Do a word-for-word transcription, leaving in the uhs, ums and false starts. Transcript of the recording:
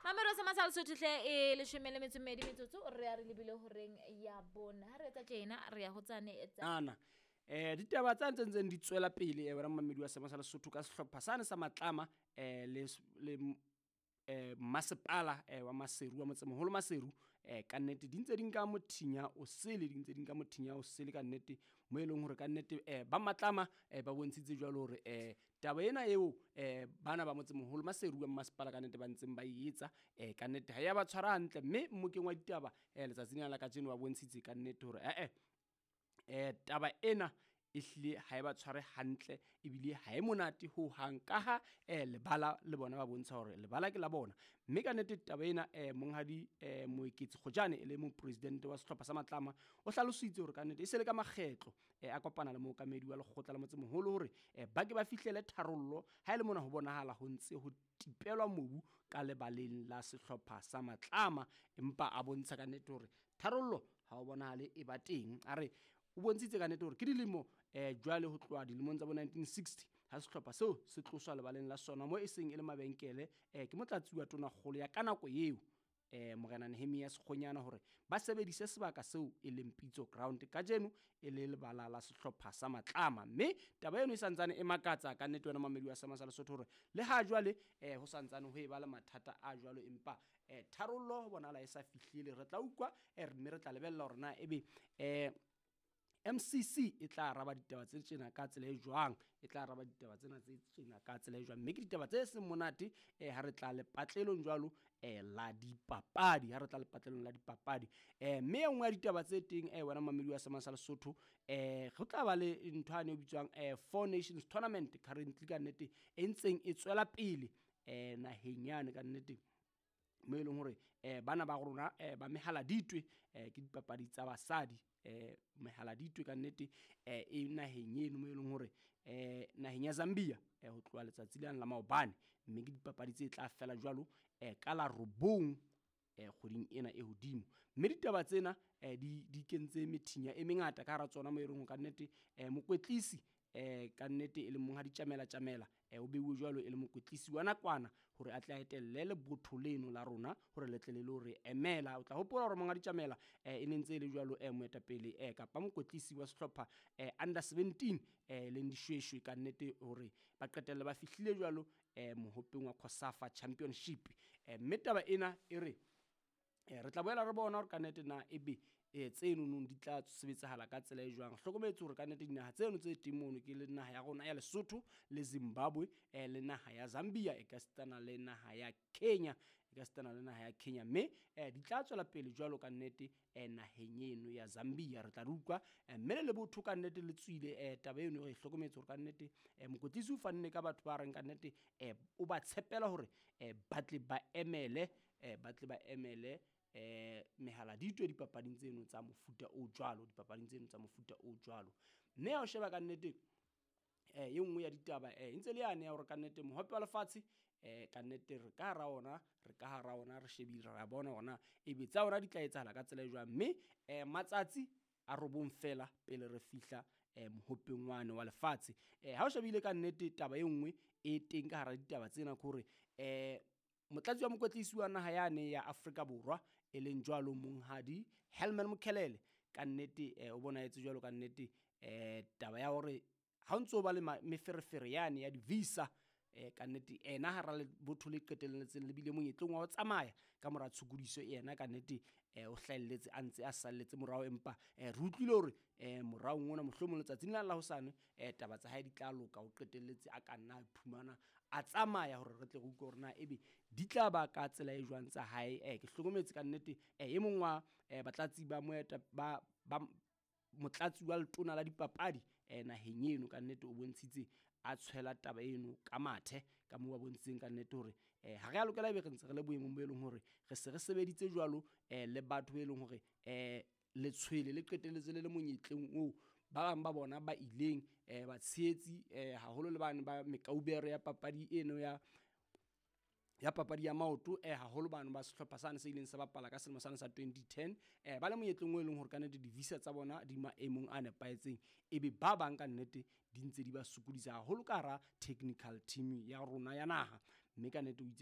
Mamelo sa masala Sotho hle e leshome le metso e mmedi metsotso re ya re lebile horeng ya bone. Ha re etsa tjena re ya ho tsane tsa Ana eh ditaba tsa ntse ntseng di tswela pele eh wena mamedi wa Sema sa Lesotho ka sehlopha sane sa Matlama eh le le eh masepala eh wa Maseru wa motsemoholo Maseru eh ka nnete di ntse di nka mothinya o sele, di ntse di nka mothinya o sele ka nnete, mo e leng hore ka nnete eh ba Matlama eh ba bontshitse jwalo hore eh taba ena eo eh bana ba motsemoholo Maseru wa masepala ka nnete ba ntseng ba e etsa eh ka nnete ha ya ba tshwara hantle. Mme mmokeng wa ditaba eh letsatsing lena la kajeno ba bontshitse ka nnete hore eh eh eh taba ena e hlile ha e ba tshware hantle ebile ha e monate ho hang, ka ha eh lebala le bona ba bontsha hore lebala ke la bona. Mme ka nnete taba ena eh monghadi eh Moeketsi Kgojane e le mopresidente wa sehlopha sa Matlama o hlalositse hore ka nnete e se le ka makgetlo eh a kopana le mookamedi wa lekgotla la motsemoholo hore eh ba ke ba fihlele tharollo ha e le mona ho bonahala ho ntse ho tipelwa mobu ka lebaleng la sehlopha sa Matlama. Empa a bontsha ka nnete hore tharollo ha o bonahale e ba teng. A re o bontshitse ka nnete hore ke dilemo eh jwale ho tloha dilemong tsa bo nineteen sixty ha sehlopha seo se tloswa lebaleng la sona mo e seng e le mabenkele eh ke motlatsi wa tonakgolo ya ka nako eo eh Morena Nehemia Sekgonyana hore ba sebedise sebaka seo e leng Pitso Ground kajeno e le lebala la sehlopha sa Matlama. Mme taba eno e santsane e makatsa ka nnete wena mamedi wa Sema sa Lesotho hore le ha jwale eh ho santsane ho e ba le mathata a jwalo, empa eh tharollo ho bonahala e sa fihlile. Re tla utlwa eh mme re tla lebella hore na ebe eh M C C e tla araba ditaba tse tjena ka tsela e jwang, e tla araba ditaba tsena tse tjena ka tsela e jwang. Mme ke ditaba tse seng monate eh ha re tla lepatlelong jwalo eh la dipapadi, ha re tla lepatlelong la dipapadi. Eh mme e nngwe ya ditaba tse teng eh wena mamedi wa Sema sa Lesotho eh go tla ba le ntho ane e bitswang eh Four Nations Tournament currently ka nnete e ntseng e tswela pele eh naheng yane ka nnete, mo e leng hore eh bana ba rona eh ba mehaladitwe eh ke dipapadi tsa basadi eh mehaladitwe ka nnete eh e naheng eno mo e leng hore eh naheng ya Zambia eh ho tloha letsatsi lena la maobane. Mme ke dipapadi tse tla fela jwalo eh ka la robong eh kgweding ena e hodimo. Mme ditaba tsena eh di di kentse methinya e mengata ka hara tsona mo e leng hore ka nnete eh mokwetlisi eh ka nnete e le monghadi Tjamela Tjamela eh o beuwe jwalo e le mokwetlisi wa nakwana hore a tle a etelle lebotho leno la rona hore le tle le lo re emela. O tla hopola hore monghadi Tjamela eh e ne ntse e le jwalo eh moetapele eh kapa mokwetlisi wa sehlopha eh under seventeen eh leng dishweshwe ka nnete hore ba qetelle ba fihlile jwalo eh mohopeng wa COSAFA Championship. Eh mme taba ena e re eh re tla boela re bona hore ka nnete na ebe eh tseno nong di tla sebetsahala ka tsela e jwang. Hlokometse hore ka nnete dinaha tseno tse teng mono ke le naha ya rona ya Lesotho le Zimbabwe eh le naha ya Zambia e ka sitana le naha ya Kenya, e ka sitana le naha ya Kenya. Mme eh di tla tswela pele jwalo ka nnete eh naheng eno ya Zambia. Re tla re utlwa eh mme le lebotho ka nnete le tswile eh taba eno re hlokometse hore ka nnete eh mokwetlisi o fanne ka batho ba reng ka nnete eh o ba tshepela hore eh ba tle ba emele eh ba tle ba emele eh mehaladitwe dipapading tseno tsa mofuta o jwalo, dipapading tseno tsa mofuta o jwalo. Mme ha o sheba ka nnete eh e nngwe ya ditaba eh e ntse le yane ya hore ka nnete mohope wa lefatshe eh ka nnete re ka hara ona, re ka hara ona, re shebile ra bona hore ebe tsa ona di tla etsahala ka tsela e jwang. Mme eh matsatsi a robong fela pele re fihla eh mohopeng wane wa lefatshe. Eh ha o shebile ka nnete taba e nngwe e teng ka hara ditaba tsena ke hore eh motlatsi wa mokwetlisi wa naha yane ya Afrika Borwa e leng jwalo monghadi Helman Mkhalele ka nnete eh o bonahetse jwalo ka nnete eh taba ya hore ha o ntso ba le meferefere yane ya di-visa eh ka nnete ena hara lebotho le qetelletseng le bile monyetleng wa ho tsamaya ka mora tshokodiso ena ka nnete eh o hlahelletse a ntse a salletse morao. Empa eh re utlwile hore eh moraong ona mohlomong letsatsing la la hosane eh taba tsa hae di tla loka, o qetelletse a ka nna a iphumana a tsamaya hore re tle re utlwe hore na ebe di tla ba ka tsela e jwang tsa hae. Eh ke hlokometse ka nnete eh e mong wa eh batlatsi ba moeta ba ba motlatsi wa letona la dipapadi eh naheng eno ka nnete o bontshitse a tshwela taba eno ka mathe ka moo ba bontshitseng ka nnete hore eh ha re a lokela ebe re ntse re le boemong bo e leng hore re se re sebeditse jwalo eh le batho be leng hore eh letshwele le qetelletse le le monyetleng oo ba bang ba bona ba ileng eh batshehetsi eh haholo le bane ba mekaubere ya papadi eno ya ya papadi ya maoto eh haholo bano ba sehlopha sane se ileng sa bapala ka selemo sane sa twenty ten eh ba le monyetleng o e leng hore ka nnete di-visa tsa bona di maemong a nepahetseng, ebe ba bang ka nnete di ntse di ba sokodisa haholo ka hara technical team ya rona ya naha. Mme ka nnete o itse